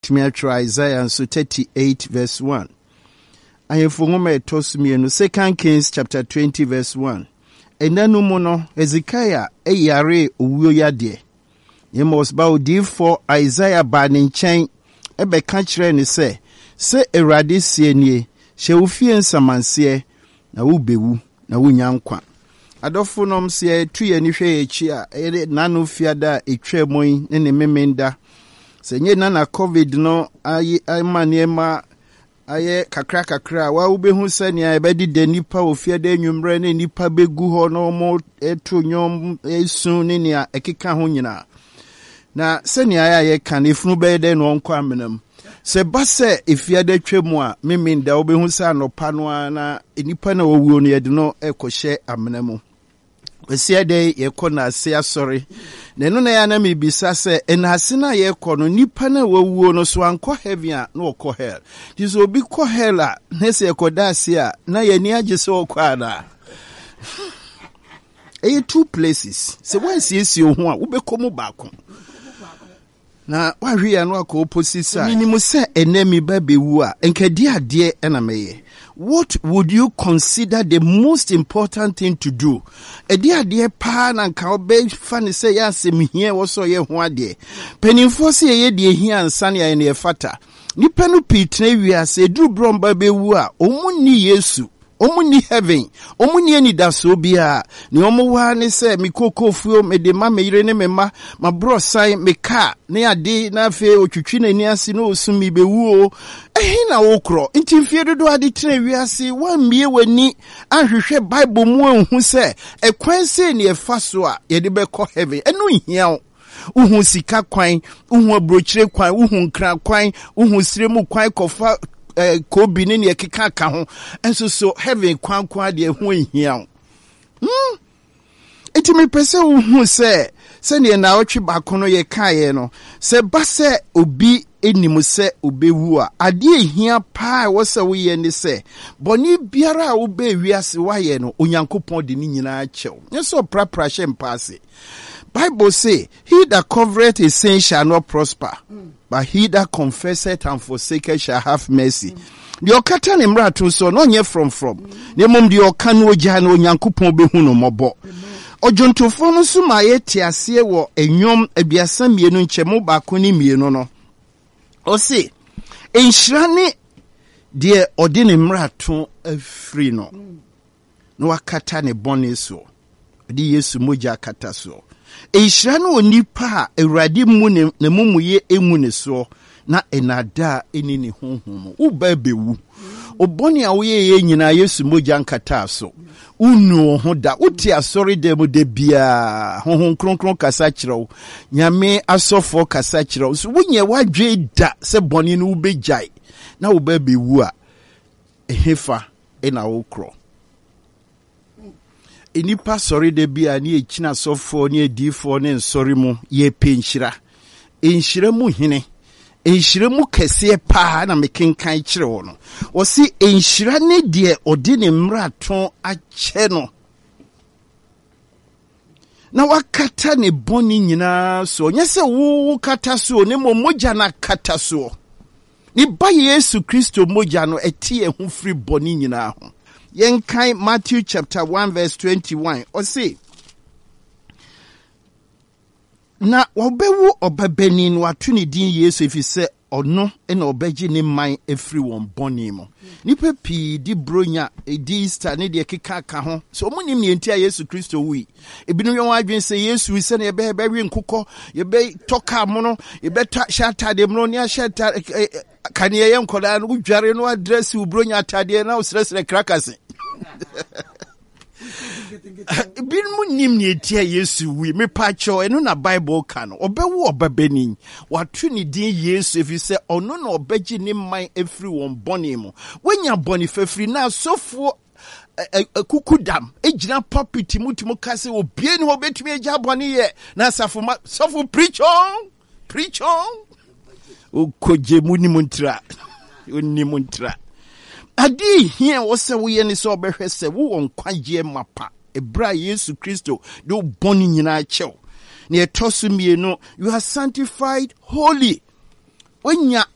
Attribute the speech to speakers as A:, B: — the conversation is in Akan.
A: Tumi atwerɛ Isaiah nso 38 verse 1. Ahemfo nwoma a ɛtɔ so mmienu, Second Kings chapter 20 verse 1. Ɛnna no mu no, Hezekiah yaree owuo yadeɛ. Amos ba odiyifoɔ Isaiah baa ne nkyɛn bɛka kyerɛɛ no sɛ, Sɛ Awurade seɛ nie, hyɛ wo fie nsamanseɛ, na wobɛwu, na wonnya nkwa. Adɔfonom, sɛ yɛtu yɛn ani hwɛ yɛn akyi a, ɛyɛ n'ano fiada a ɛtwaa mu yi ne ne memenda. Sɛ nyɛ na na COVID no ayi ama nneɛma ayɛ kakra kakra a, wa wobɛhu sɛnea ɛbɛdeda nnipa wɔ fiada anwummerɛ ne nnipa bɛgu hɔ na wɔto nnwom esu ne nea ɛkeka ho nyinaa. Na sɛnea ayɛ a yɛka no, efunu bɛyɛ dɛn na ɔnkɔ amena mu? Sɛ ɛba sɛ efiada twa mu a, Memenda, wobɛhu sɛ anɔpa no ara na nnipa no a wɔwuo no, yɛde no rekɔhyɛ amena mu. Kwasiada yi, yɛkɔ Naase asɔre. Na ɛno na ɛyɛ a na mebisa sɛ, Naase no a yɛkɔ no, nnipa no a wɔawuo no, so ankɔ heaven a, na wɔkɔ hell? Nti sɛ obi kɔ hell a, na sɛ yɛkɔda ase a, na yɛn ani agye sɛ ɔkɔ anaa? Ɛyɛ two places. Sɛ woansiesie wo ho a, wobɛkɔ mu baako. Na woahwe yɛ ano akɔ opposite side. Menim sɛ ɛnɛ me ba bɛwu a, nka di adeɛ na mɛyɛ. What would you consider the most important thing to do? Ɛde adeɛ paa na nka wobɛfa ne sɛ yɛ asɛm hia ɛwɔ sɛ ɔyɛ ho adeɛ. Mpanimfoɔ sɛ yɛyɛ deɛ hia ansa ne ayɛ no yɛfata. Nnipa no pii tena wiase, ɛduru berɛ ɔmba bɛwu a, wɔn nni Yesu. Wɔn nni heaven, wɔn nni anidasoɔ biara. Nea wɔn wɔ ara ne sɛ me kookoofuo, mede ma me yere ne me mma, m'aborɔsan, me kaa ne ade, na afei ɔtwitwi n'ani ase na ɔsu merebɛwu o. Ɛhe na wokorɔ? Nti mfeɛ dodoɔ a de tena wiase, woammue w'ani anhwehwɛ Bible mu anhu sɛ ɛkwan sei na yɛfa so a yɛde bɛkɔ heaven. Ɛno nhia wo. Wohu sika kwan, wohu aburokyire kwan, wohu nkran kwan, wohu sire mu kwan kɔfa eh, kobi ne nea ɛkeka ka ho. Nso so heaven kwan ko adeɛ ho nhia wo. Hmm? Nti mepɛ sɛ wohu sɛ sɛdeɛ naawɔtwe baako no yɛkaeɛ no, sɛ ba sɛ obi nim sɛ obewu a, adeɛ ehia paa ɛwɔ sɛ woyɛ ne sɛ bɔne biara a wobɛɛ wiase woayɛ no, Onyankopɔn de ne nyinaa kyɛw. Nyɛ sɛ ɔprapra hyɛ mpa ase. Bible say, He that covereth his sin shall not prosper, but he that confesseth and forsaketh shall have mercy. Deɛ ɔkata ne mmarato so no ɔnyɛ frɔmfrɔm, na mmom deɛ ɔka no ogya no Onyankopɔn bɛhu no mmɔbɔ. Ɔdwontofoɔ no nso ma yɛte aseɛ wɔ Nnwom 32 nkyɛmu baako ne mmienu no. Ɔse, Nhyira ne deɛ ɔde ne mmarato afiri no. na wakata ne bɔne soɔ. Ɔde Yesu mogya akata soɔ. Nhyira ne onipa a Awurade mmu ne n'amumuyɛ ngu ne soɔ na nnaadaa nni ne honhom mu. Wo ba bɛwu. Wo bɔne a woyɛeɛ nyinaa Yesu mogya nkataa so. Wonnu wo ho da. Wote asɔredan mu da biara. Honhom Kronkron kasa kyerɛ wo. Nyame asɔfoɔ kasa kyerɛ wo. So wonyɛ w'adwene da sɛ bɔne no wobɛgyae na wo ba bɛwu a, ɛhefa na wokorɔ? Nnipa sɔre da bi a ne yɛkyina asɔfoɔ ne adiyifoɔ ne nsɔre mu, yɛpɛ nhyira. Nhyira mu hene, nhyira mu kɛseɛ paa na mekenkan kyerɛ wɔ no. Wɔse nhyira ne deɛ ɔde ne mmarato akyɛ no na wakata ne bɔne nyinaa soɔ. Nyɛ sɛ wo wokata soɔ, na mmom mogya no akata soɔ. Ne Ba Yesu Kristo mogya no ɛte yɛn ho firi bɔne nyinaa ho. Yɛnkan Matthew chapter 1 verse 21. Ɔse, na wɔbɛwo ɔbabanin na wɔato ne din Yesu ɛfiri sɛ ɔno na ɔbɛgye ne man afiri wɔn bɔne mu. Nnipa pii di Buronya, di Easter ne deɛ ɛkeka ka ho. Sɛ wɔn nim nea nti a Yesu Kristo wui. Ebinom yɛ wɔn adwene sɛ Yesu wui sɛnea yɛbɛyɛ yɛbɛwe nkokɔ, yɛbɛtɔ kaa mono, yɛbɛtɔ hyɛ ataadeɛ mono ne ahyɛ ataade kaneɛ yɛ nkɔdaa no wodware no adrɛse wo Buronya ataadeɛ na wosrɛsrɛ krakase. Binom nim nea enti a Yesu wui. Mepakyɛw, ɛno na Bible ka no. Ɔbɛwo ɔbabanin. Wɔato ne din Yesu efisɛ ɔno na ɔbɛgye ne man afiri wɔn bɔne mu. Woanya bɔne fafiri na asɔfoɔ akukudam gyina pulpit mu tumi ka sɛ obie ne hɔ obetumi agya bɔne yɛ na asafo ma sɔfo preach on. Preach on. Okogye mu nim ntra. Onim ntra. Ade ehia wɔ sɛ woyɛ ne sɛ ɔbɛhwɛ sɛ wowɔ nkwagyeɛ mapa ɛberɛ a Yesu Kristo de wo bɔne nyinaa kyɛw. Na ɛtɔ so mmienu, you are sanctified holy. Wonya